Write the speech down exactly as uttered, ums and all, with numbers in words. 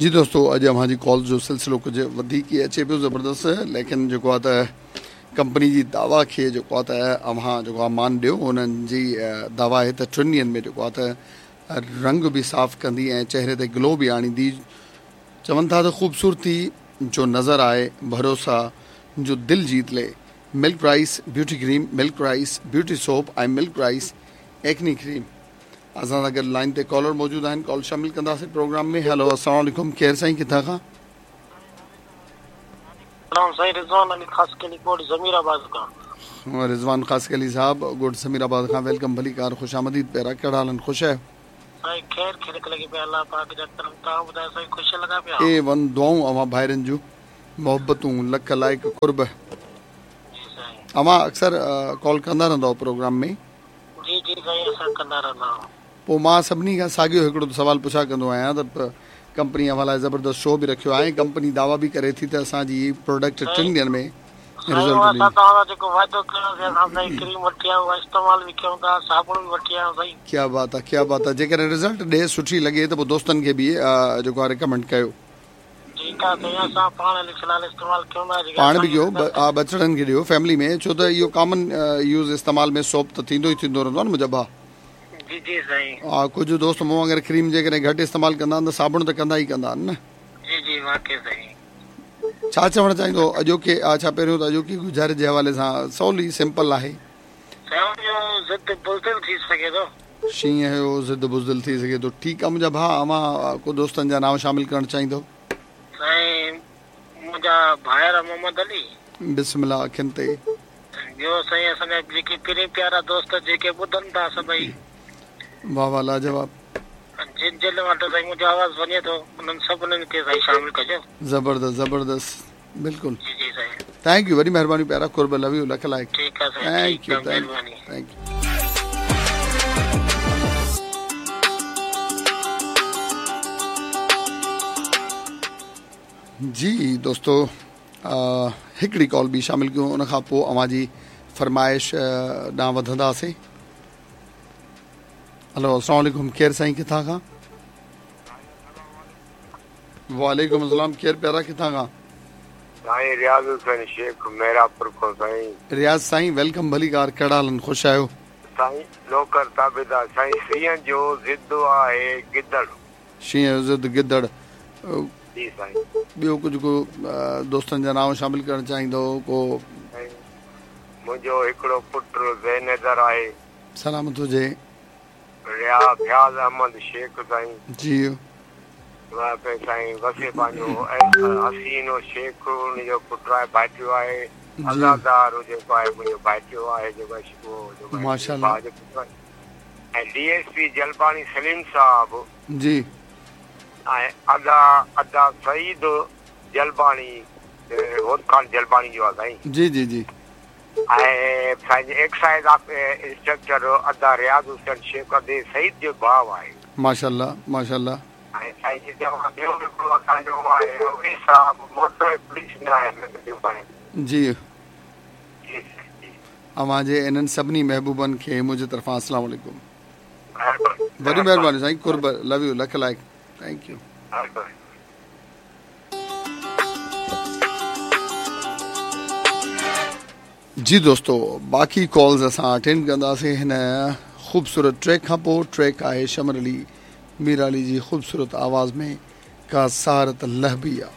जी दोस्तों, अॼु अव्हां जी कॉल जो सिलसिलो कुझु वधीक ई अचे पियो ज़बरदस्त, लेकिन जेको आहे त कंपनी जी दावा खे जेको आहे त अव्हां जेको आहे मान ॾियो। उन्हनि जी दावा आहे त टिनि ॾींहंनि में जेको आहे त रंग बि साफ़ कंदी ऐं चेहरे ते ग्लो बि आणींदी। चवनि था त ख़ूबसूरती जो नज़र आए, भरोसा जो दिल जीत ले। Milk rice beauty cream, milk rice beauty soap ऐं मिल्क राइस एक्नी क्रीम। असां सां गॾु लाइन ते कॉलर मौजूदु आहिनि, कॉल शामिल कंदासीं प्रोग्राम में। हेलो, अस्सलाम वालेकुम, केरु साईं, किथां खां? साईं रिज़वान अली ख़ासकेली, ॻोठ ज़मीराबाद खां। रिज़वान ख़ासकेली साहब, ॻोठ ज़मीराबाद खां, welcome, भली कार, ख़ुशि आमदीद। प्यारा, कहिड़ा हाल आहिनि, ख़ुशि आहियो? साईं ख़ैर ख़ैर लॻी पिया, अलाह पाक जा करम। तव्हां ॿुधायो साईं, ख़ुशि लॻा पिया? ए वन दुआऊं अव्हां भाइरनि जूं, मोहबतूं, लख लाइक़ क़ुर्ब। जी साईं। अव्हां अक्सर कॉल कंदा रहंदा प्रोग्राम में? जी जी साईं, असां कंदा रहंदा आहियूं। पोइ मां सभिनी खां साॻियो हिकिड़ो सवाल पुछा कंदो आहियां त कंपनी अव्हां लाइ ज़बरदस्त शो बि रखियो आहे, कंपनी दावा बि करे थी त असांजी प्रोडक्ट टिनि ॾींहंनि में रिज़ल्ट ॾींदी। क्या बात आहे, क्या बात आहे। जेकॾहिं रिज़ल्ट ॾे सुठी लॻे त पोइ दोस्तनि खे बि जेको आहे रिकमेंड कयो। पाण बि कयो, बचड़नि खे ॾियो, फैमिली में, छो त इहो कॉमन यूज़ इस्तेमाल में सोप त थींदो ई थींदो रहंदो आहे न मुंहिंजा भाउ। जी जी साईं। हा, कुझु दोस्त मूं वांगुरु क्रीम जेकॾहिं घटि इस्तेमालु कंदा आहिनि त साबुण त कंदा ई कंदा आहिनि न। जी जी वाकई साईं। छा चवणु चाहींदो अॼोके, छा पहिरियों त अॼोकी गुज़ारे जे हवाले सां सवली सिंपल आहे। शींहं जो ज़िद बुज़दिल थी सघे थो। ठीकु आहे मुंहिंजा भाउ, अव्हां को दोस्तनि जा नाम शामिल करणु चाहींदो? साईं मुंहिंजा भाइर मोहम्मद अली, बिस्मिल्लाह अखियुनि ते। ॿियो साईं असांजा जेके पहिरीं प्यारा दोस्त जेके ॿुधनि था सभई, वाह वाह, लाजवाब। जिन जिन वटि साईं मुंहिंजो आवाज़ वञे थो उन्हनि सभिनीनि खे साईं शामिल कजो। ज़बरदस्त ज़बरदस्त, बिल्कुलु। जी जी साईं, thank you, वॾी महिरबानी प्यारा, क़ुर्ब, लव you, लख लाइक़। ठीकु आहे साईं, thank you, thank you. जी दोस्तो, हिकिड़ी कॉल बि शामिल कयूं, उन खां पोइ अव्हां जी फरमाइश ॾांहुं वधंदासीं। हेलो, अस्सलाम वालेकुम, केरु साईं, किथां खां? वालेकुम अस्सलाम, केरु प्यारा, किथां खां? साईं रियाज़ हुसैन शेख, मेहरापुर खां साईं। रियाज़ साईं welcome, भली कार, कहिड़ा हाल आहिनि, ख़ुशि आहियो? साईं नौकर ताबेदार। साईं शींहं जो ज़िद आहे गिदड़। शींहं जो ज़िद गिदड़। जी साईं। ॿियो कुझु को दोस्तनि जा नाम शामिल करणु चाहींदो को? मुंहिंजो हिकिड़ो पुटु ज़ैनदर आहे। सलामत हुजे। रिया फयाज़ अहमद शेख साईं। जी साईं वसे पंहिंजो हसीनो शेख उनजो पुटु आहे, भाइटियो आहे। अज़ादार जेको आहे मुंहिंजो भाइटियो आहे जेको माशाअल्लाह। ऐं D S P Jalbani Saleem साहब जी, ऐं अदा अदा सईद जलबाणी होत खान जलबाणी जो आहे साईं। जी जी जी। ऐं साईं एक्साइज़ इंस्पेक्टर अदा रियाज़ हुसैन शेख अदे सईद जो भाउ आहे। माशाअल्लाह माशाअल्लाह। ऐं साईं ॿियो हिकिड़ो असांजो आहे उहे साहब मोटर पुलिस में आहे। जी, अव्हांजे इन्हनि सभिनी महबूबनि खे मुंहिंजे तरफ़ां अस्सलाम वालेकुम। वॾी महिरबानी साईं, क़ुर्ब, लव you, लख लाइक़, thank you. जी दोस्तों, बाक़ी कॉल्स असां अटेंड कंदासीं हिन ख़ूबसूरत ट्रैक खां पोइ। ट्रैक आहे शमर अली मीराली जी ख़ूबसूरत आवाज़ में, का सारत लहबिया।